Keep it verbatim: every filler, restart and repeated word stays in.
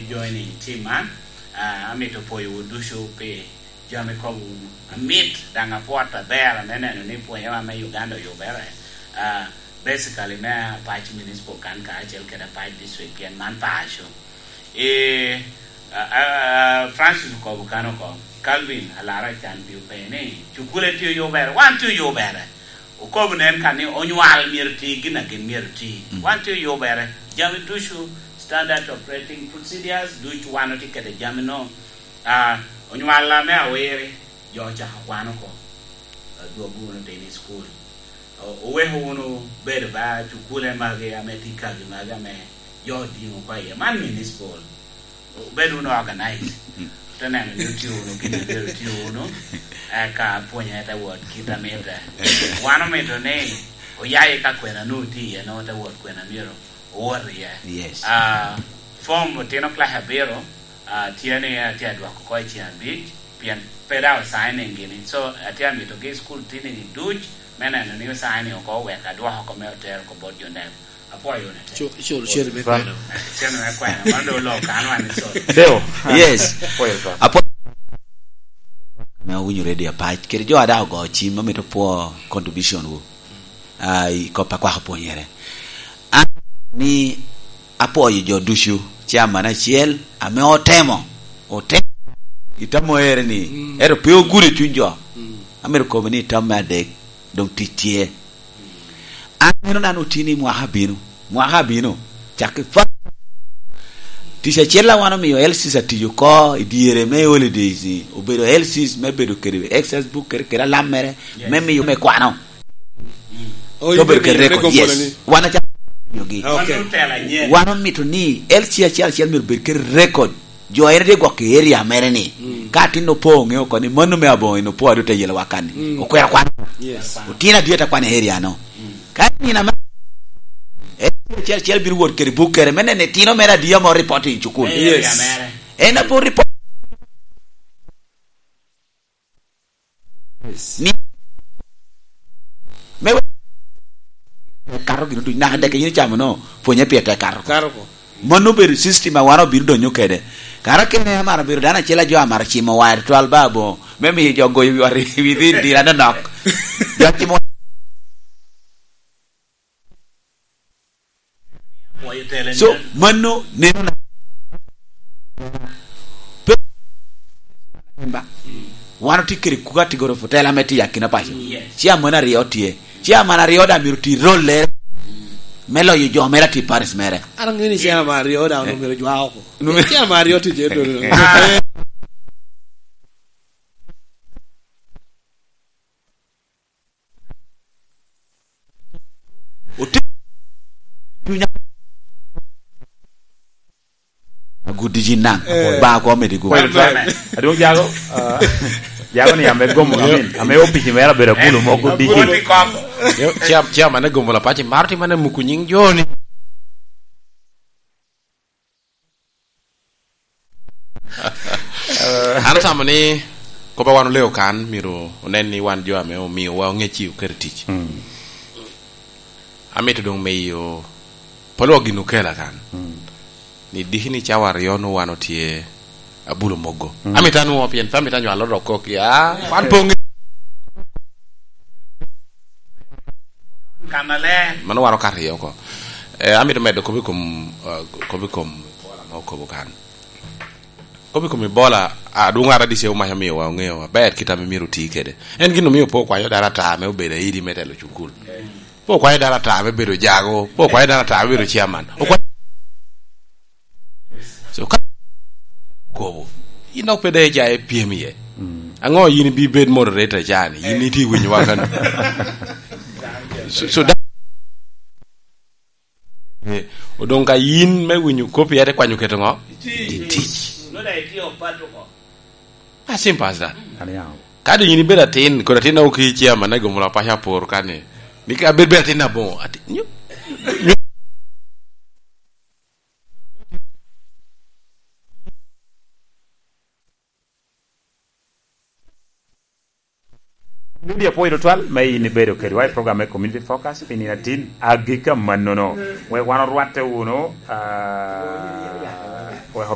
Joining team man, ah, amito pwoyowu ducu pi jami kobo wunu. Amit, daŋ apwot aber me neno ni pwonyewa me Uganda oyubere. Ah, basically me Apac Municipal kan kacel kede Apac District, pien man paco. Eh, ah, ah, Francis okobo kan oko. Calvin Alara can pi openyo ni, "Cukule tye oyubere?" Wan tye oyubere. Okobo nen ka ni onywal myero ti gin a gin myero ti. Mm. Wan tye oyubere. Jami ducu, standard operating procedures, ducu wan otye kede jami no. Ah, onywal ame awiri, jo ocako kwano oko. Adwogo wunu tini i school. O-, oweko wunu bedo ba cukule magi ame tye kagi magi ame jo odiŋo oko iye. Man municipal. Obed wunu organized. Mm. Te neno ni otio wunu gin a myero otio wunu, eka pwonye te wot kit a mitte. Wan omito ni oya i ka kwena nwoŋo tye iye, nwoŋo te wot kwena myero owot iye. Yes. Ah, form otino class abiro, ah, tye ni atye adwoko oko i ceng abic, pien pe daŋ osigning gini. So, atye amitogi i school tini duc, me neno ni osigning oko, wek adwoko oko me otero oko bot jo NEB. Apwoyo wunu ate. Cul, cul, cul me kwena. Cen me kwena, man doŋ oloo kan wan iso. Deo. Yes. Apwoyo ate. Apwoyo. Ame owinyo Radio Apac, kede jo a daŋ ogo cim, amito pwo contribution wu. Ah, i kop a kwako pwonyere. An ni apwoyo jo ducu, chairman acel, ame otemo, otemo. Itamo ere ni, mm, ero pe ogudo i cuny jo. Mm. Amito kobo ni tam me adek, doŋ tic tye. An meno nano otini mwaka abino. Mwaka abino. Cak i fa-, tic acel a wan omio L Cs atiyo oko i dyere me holidays ni, obedo L Cs me bedo kede access book kede, kede alam mere, yes, me miyo me kwano. Mm. Oh, to bedo kede record, yes. Wan acalo miyogi. Okay. Wan omito ni L C acel acel myero bed kede record. Jo en tye gwok i area mere ni. Mm. Ka atin opo oŋeo oko ni mano me aboŋo en opo adu te yelo wa kan ni. Mm. Okwero kwano. Yes. Otin adit akwano i area no. Mm. Ka nino ame, L C acel acel bino wot kede buk kere me neno itino mere adi ame oripot i cukul. Yes. En apo report. Yes. Ni, me we-, kato gin ducu, naka dek yin icamo no, pwonye pire tek kato. Kato ko. Mano obedo system a wan obino donyo kede. Kara kene amaro bedo dano acel a jo amaro cimo wire twal ba aboŋo, me miyo jo goyo wi ot i wi dhin dira nonok. Jo cimo So, mano neno na pe-, wan otye kede kuga tigoro fu tela me tiyo akina paco. Yes. Chairman aryo tye. Chairman aryo daŋ myero ti rolle me loyo jo mere ati paris mere. An aŋeo ni chairman aryo daŋ, eh, omyero jwa oko. Chairman aryo tye je dodo. Oti-, dunya. Agudi ji naŋ. Eh. Ba ko medi go. Well, well. Adwong jago, ah, jago ni ame gomo, I mean, ame opici mera bedo kulu mo gudi ji. Yo, chair-, chairman ne gomo la paci, mar ti mane muku nying joni. An atamo ni kop a wan oleo kan myero onen ni wan jo ame omiowa oŋec i oketo i tic. Mm. Amito doŋ miyo polo gin okela kan. Mm. Ni diki ni cawa aryo nwoŋo wan otye abulo mogo. Mm. Amito anwoŋo pien pe amito anywalo rok kok ya, wan poŋ. Kannaler. Mano waro ka aryo oko. Eh, amito medo kop i kom, eh, kop i kom bola ma okobo kan. Kop i kom Ebola, adwoŋ ara D C omac omio wa oŋeo aber kit ame myero oti kede. En gin omio pe okwanyo dano ata ame obedo aidi me telo cukul. Pe okwanyo dano ata ame bedo jago, pe okwanyo dano ata ame bedo chairman. Okwa-, so, ka kobo, in dok pe dee icaye pyem iye. Mm. Aŋo yin ibi bed moderator cani? Yin itye winyo wa kan. So, so, da-, eh, odoŋ ka yin me winyo kopi, ate kwanyo keto ŋo? Tic. Tic. Nongo daŋ itye opato oko. As simple as that. Aniaŋ. Ka doŋ yin ibedo atin, kodi atin na oki chairman na gomo la paco apor kani. Ni ka bed, bed atin aboŋo, ati-, nyo-, nyo-, Lydia, apwoyo tutwal me in ibedo kedwa i program me Community Focus pi nino atin agikki amannono. Wek wan orwatte wunu, ah,